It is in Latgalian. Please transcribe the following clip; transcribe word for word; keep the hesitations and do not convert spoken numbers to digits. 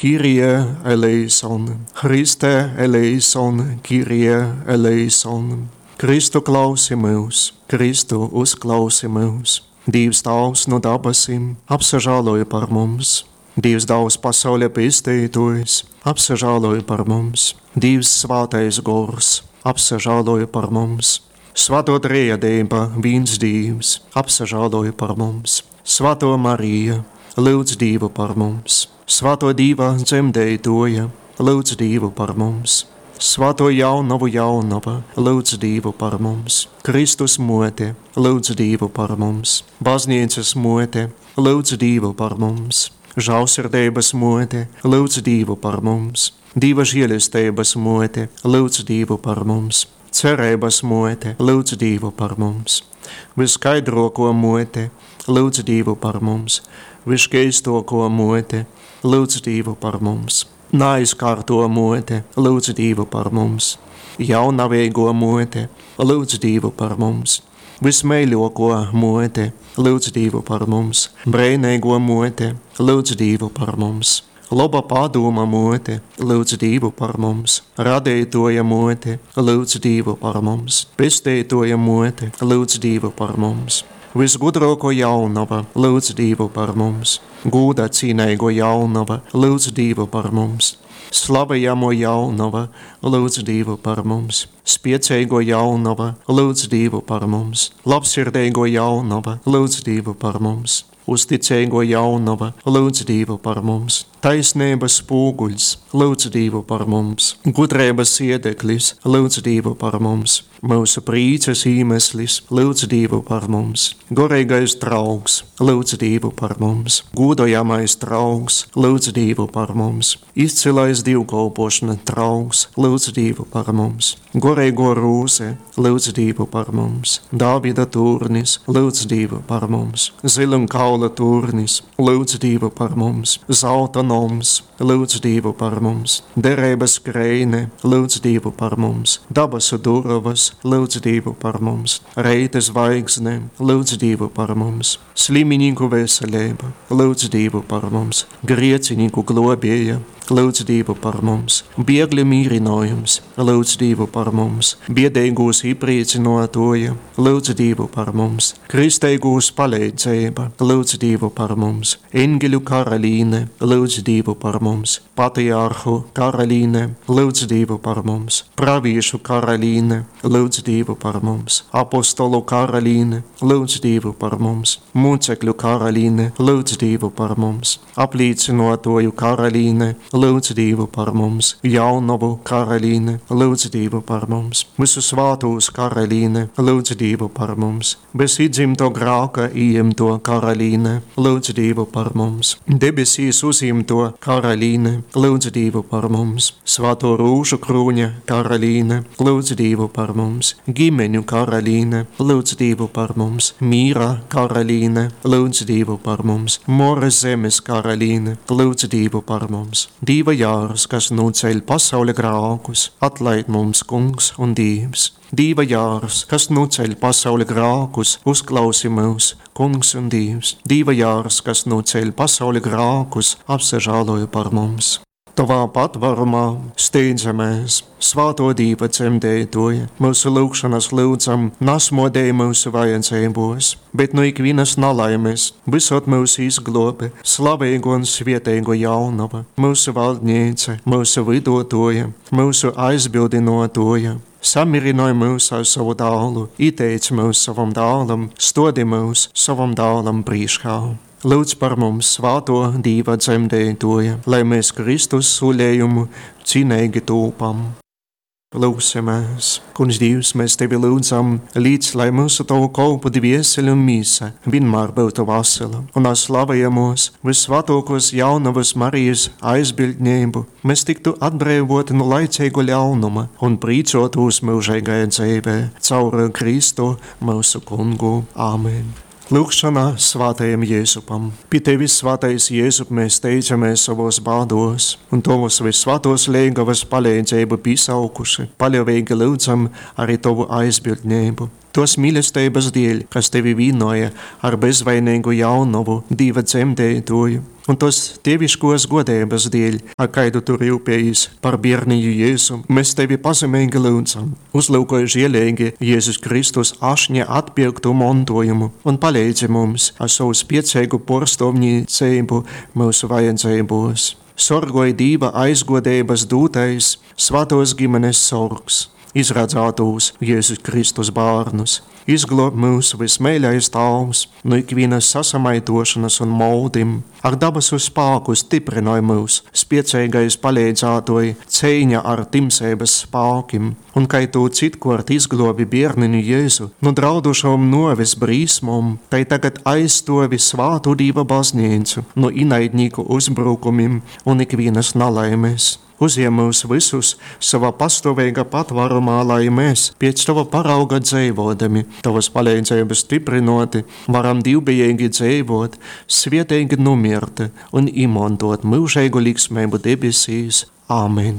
Kyrie eleison, Christe eleison, Kyrie eleison. Kristu klausi myus, Kristu uzklausi myus. Dīvs Tāvs nu dabasim, apsažāloj par mums. Dīvs Dāls pasauļa pestītājs, apsažāloj par mums. Dīvs Svātais Gors, apsažāloj par mums. Svētō Trejadeiba, vīns Dīvs, apsažāloj par mums. Svētō Marija, lūdz Dīvu par mums. Svētō Dīva dzemdētoja, lūdz Dīvu par mums. Svētō jaunavu jaunava, lūdz Dīvu par mums. Kristus mote, lūdz Dīvu par mums. Baznīcas mote, lūdz Dīvu par mums. Žālsirdeibas mote, lūdz Dīvu par mums. Dīva žēlesteibas mote, lūdz Dīvu par mums. Cerības mote, lūdz Dīvu par mums. Vyskaidroko mote, lūdz Dīvu par mums. Vyškeistoko mote, lūdz Dīvu par mums. Naizkārto mote, lūdz Dīvu par mums. Jaunavīgo mote, lūdz Dīvu par mums. Vismeiļoko mote, lūdz Dīvu par mums. Breineigo mote, lūdz Dīvu par mums. Loba padūma mote, lūdz Dīvu par mums. Radītoja mote, lūdz Dīvu par mums. Pestītoja mote, lūdz Dīvu par mums. Visgudrāko jaunava, lūdz Dīvu par mums. Gūda cīneigo jaunava, lūdz Dīvu par mums. Slavējamo jaunava, lūdz Dīvu par mums. Spieceigo jaunava, lūdz Dīvu par mums. Labsirdeigo jaunava, lūdz Dīvu par mums. Uzticeigo jaunava, lūdz Dīvu par mums. Taisnības spūguļs, lūdz Dīvu par mums. Gudrības iedeklis, lūdz Dīvu par mums. Mūsu prīces īmeslis, lūdz Dīvu par mums. Goreigais draugs, lūdz Dīvu par mums. Gūdojamais draugs, lūdz Dīvu par mums. Izcilais dievkalpošana draugs, lūdz Dīvu par mums. Goreigo rūze, lūdz Dīvu par mums. Dāvida tūrnis, lūdz Dīvu par mums. Zilunkaula tūrnis, lūdz Dīvu par mums. Zelta noms, lūdz Dīvu par mums. Derības skreine, lūdz Dīvu par mums. Dabasu durovas, lūdz Dīvu par mums. Reita zvaigzne, lūdz Dīvu par mums. Sliminīku veselība, lūdz Dīvu par mums. Griecinīku globēja, lūdz Dīvu par mums. Biegļu mīrinājums, lūdz Dīvu par mums. Biedīgūs iepriecinotoja, lūdz Dīvu par mums. Kristeigūs palīdzība, lūdz Dīvu par mums. Engeļu karalīne, lūdz Dīvu par mums. Patriarhu karalīne, lūdz Dīvu par mums. Praviešu karalīne, lūdz Dīvu par mums. Apostolu karalīne, lūdz Dīvu par mums. Mūcekļu karalīne, lūdz Dīvu par mums. Aplīcinotoju karalīne, lūdz Dīvu par mums. Jaunavu karalīne, lūdz Dīvu par mums. Visu svātūs karalīne, lūdz Dīvu par mums. Bez iedzimto grāka ieimto karalīne, lūdz Dīvu par mums. Debesīs uzimto karalīne, lūdz Dīvu par mums. Svāto rūžu krūņa karalīne, lūdz Dīvu par mums. Ģimeņu karalīne, lūdz Dīvu par mums. Mīra karalīne, lūdz Dīvu par mums. Mora zemes karalīne, lūdz Dīvu par mums. Dīva jārs, kas noceļ pasauļa grākus, atlaid mums, Kungs un Dievs. Dīva jārs, kas noceļ pasauļa grākus, uzklausi mūs, Kungs un Dievs. Dīva jārs, kas noceļ pasauļa grākus, apsažāloja par mums. Tavā patvarumā steidzamies, svāto Dīva dzemdētoja, mūsu lūgšanas lūdzam, nasmodēja mūsu vajadzībos, bet no ikvienas nalaimes visot mūsu izglobe, slavīgo un svietēgo jaunava, mūsu valdniece, mūsu vidotoja, mūsu aizbildinotoja. Samirināj mūs ar savu dālu, ieteic mūs savam dālam, stodi mūs savam dālam priekšā. Lūdz par mums svāto Dīva dzemdētoja, lai mēs Kristus suļējumu cienīgi tūpam. Lūksimies, Kungs Dievs, mēs Tevi lūdzam, līdz lai mūsu Tavu kolpu dvieseli un mīsa vienmēr būtu vesela, un ar slavējamos vissvētākos jaunavas Marijas aizbildnību mēs tiktu atbrīvoti no laicīgu ļaunuma un prīcotos mūžīgajā dzīvē caur Kristu mūsu kungu. Āmen. Lūgšana svētajam Jēzupam. Pie tevis, svētais Jēzup, mēs steidzamies savos bādos, un tavus visvētos lēgavas palīdzību piesaukuši, paļāvīgi lūdzam arī tavu aizbildnību. Tos mīlestības dēļ, kas tevi vīnoja ar bezvainīgu jaunovu, Dīva dzemdētoju, un tos dieviškos godības dēļ, ar kaidu tu rūpējies par bērniņu Jēzu, mēs tevi pazemīgi lūdzam. Uzlūkoj žielīgi Jēzus Kristus ašņa atpirktu montojumu un palīdzi mums ar savu spiecīgu porstovniecību mūsu vajadzībos. Sorgoj Dīva aizgodības dūtais svētos ģimenes sorgs izradzētos Jēzus Kristus bērnus. Izglāb mūs vismīļais Tāvs no ikvienas sasamaitošanas un moldim. Ar dabasu spāku stiprinoj mūs, spiecīgais palīdzētoji cīņa ar timsības spākim. Un kai tu citkort izglobi bērniņu Jēzu no draudušām noves brīsmom, tai tagad aizstovi svātu Dīva baznīcu no inaidnieku uzbrukumim un ikvienas nalaimes. Uzņem mūs visus savā pastāvīgā patvārumā, lai mēs, pēc tava parauga dzīvodami, tavas palīdzības stiprinoti, varam divbijīgi dzīvot, svietīgi numirt un izmantot mūžīgu liksmību debesīs. Āmen!